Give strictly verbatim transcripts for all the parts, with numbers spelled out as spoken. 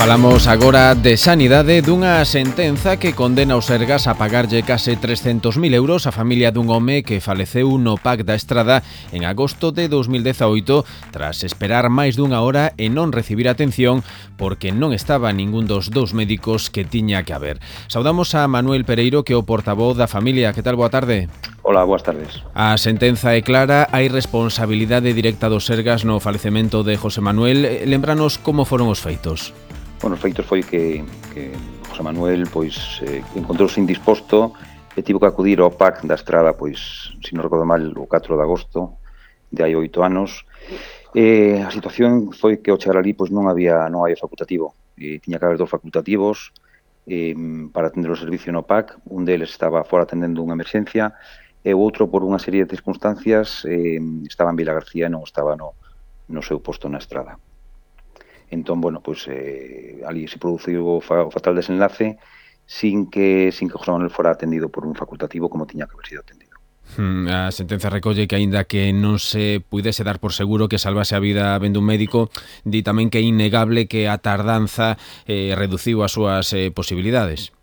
Falamos agora de sanidade, dunha sentenza que condena o Sergas a pagarlle case trescentos mil euros á familia dun home que faleceu no P A C da Estrada en agosto de dos mil dezaoito tras esperar máis dunha hora e non recibir atención porque non estaba ningún dos dous médicos que tiña que haber. Saudamos a Manuel Pereiro, que é o portavoz da familia. Que tal? Boa tarde. Hola, boas tardes. A sentenza é clara, hai responsabilidade directa do Sergas no falecemento de José Manuel. Lembranos como foron os feitos. Bueno, os feitos foi que, que José Manuel pois eh, encontrouse indisposto e tivo que acudir ao P A C da Estrada, pois, se non recordo mal, o catro de agosto de hai oito anos. E a situación foi que ao chegar ali pois non había non había facultativo. E tiña que haber dos facultativos eh, para atender o servicio no P A C. Un deles estaba fora atendendo unha emerxencia e o outro, por unha serie de circunstancias, eh, estaba en Vila García e non estaba no, no seu posto na Estrada. Entón, bueno, pois eh, ali se produciu o, fa, o fatal desenlace sin que sin que José Manuel fora atendido por un facultativo como tiña que haber sido atendido. Hmm, a sentenza recolle que, aínda que non se puidese dar por seguro que salvase a vida vendo un médico, di tamén que é innegable que a tardanza eh, reduciu as súas eh, posibilidades.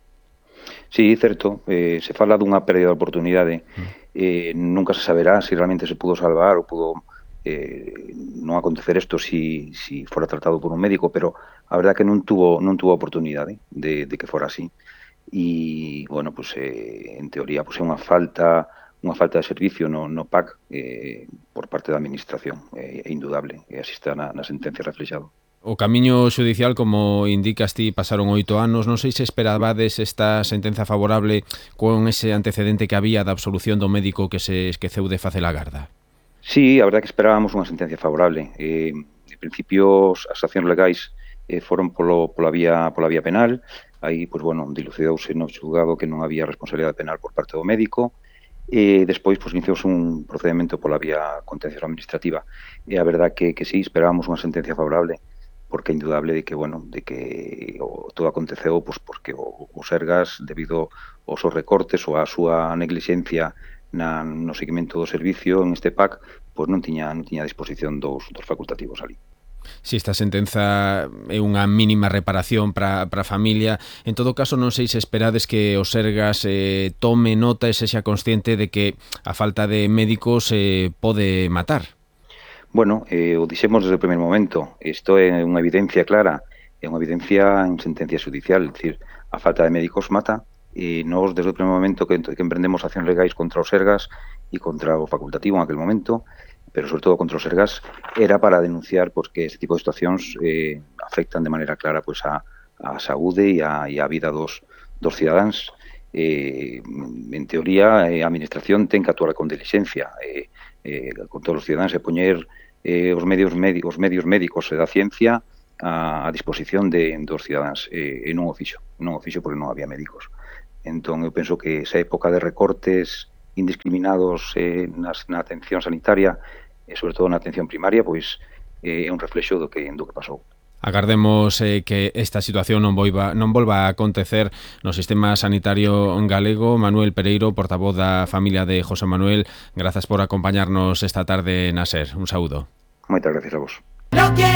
Sí, certo, eh, se fala dunha pérdida de oportunidade. Eh, nunca se saberá se realmente se pudo salvar ou pudo eh, non acontecer isto si, si fora tratado por un médico, pero a verdad que non tuvo non tuvo oportunidade de, de que fora así. E, bueno, pues, eh, en teoría pues, é unha falta unha falta de servicio no, no P A C eh, por parte da Administración, é eh, indudable, e así está na, na sentencia reflexado. O camiño xudicial, como indicas ti, pasaron oito anos. Non sei se esperabades esta sentenza favorable con ese antecedente que había da absolución do médico que se esqueceu de facer a garda. Sí, a verdade que esperábamos unha sentencia favorable. Eh, en principio, as accións legais eh, foron polo, pola, vía, pola vía penal. Aí, pois, bueno, dilucidouse no xulgado que non había responsabilidade penal por parte do médico. E despois, pois, iniciouse un procedimento pola vía contenciosa administrativa. E a verdade que, que sí, esperábamos unha sentencia favorable, porque é indudable de que, bueno, de que o, todo aconteceu pois, porque o, o Sergas, debido aos seus recortes ou á súa neglixencia na, no seguimento do servicio en este P A C, pois non tiña, non tiña a disposición dos, dos facultativos ali. Si esta sentenza é unha mínima reparación para a familia, en todo caso non sei se esperades que o Sergas eh, tome nota e sexa consciente de que a falta de médicos eh, pode matar. Bueno, eh, o dixemos desde o primeiro momento. Isto é unha evidencia clara, é unha evidencia en sentencia judicial, é dicir, a falta de médicos mata. E nós, desde o primeiro momento que, que emprendemos accións legais contra os Sergas e contra o facultativo en aquel momento, pero sobre todo contra os Sergas, era para denunciar pois, que este tipo de situacións eh, afectan de maneira clara pois, a, a saúde e a, e a vida dos, dos cidadáns. Eh, en teoría, eh, a Administración ten que actuar con dilixencia eh, eh, con todos os cidadáns e poñer eh, os medios médicos, os medios médicos e da ciencia a, a disposición de, dos cidadáns eh, e non o fixo, non o fixo porque non había médicos. Entón, eu penso que esa época de recortes indiscriminados eh, nas, na atención sanitaria e, sobre todo, na atención primaria, pois eh, é un reflexo do que, do que pasou. Agardemos eh, que esta situación non volva, non volva a acontecer no sistema sanitario galego. Manuel Pereiro, portavoz da familia de José Manuel, grazas por acompañarnos esta tarde na SER. Un saúdo. Moitas gracias a vos.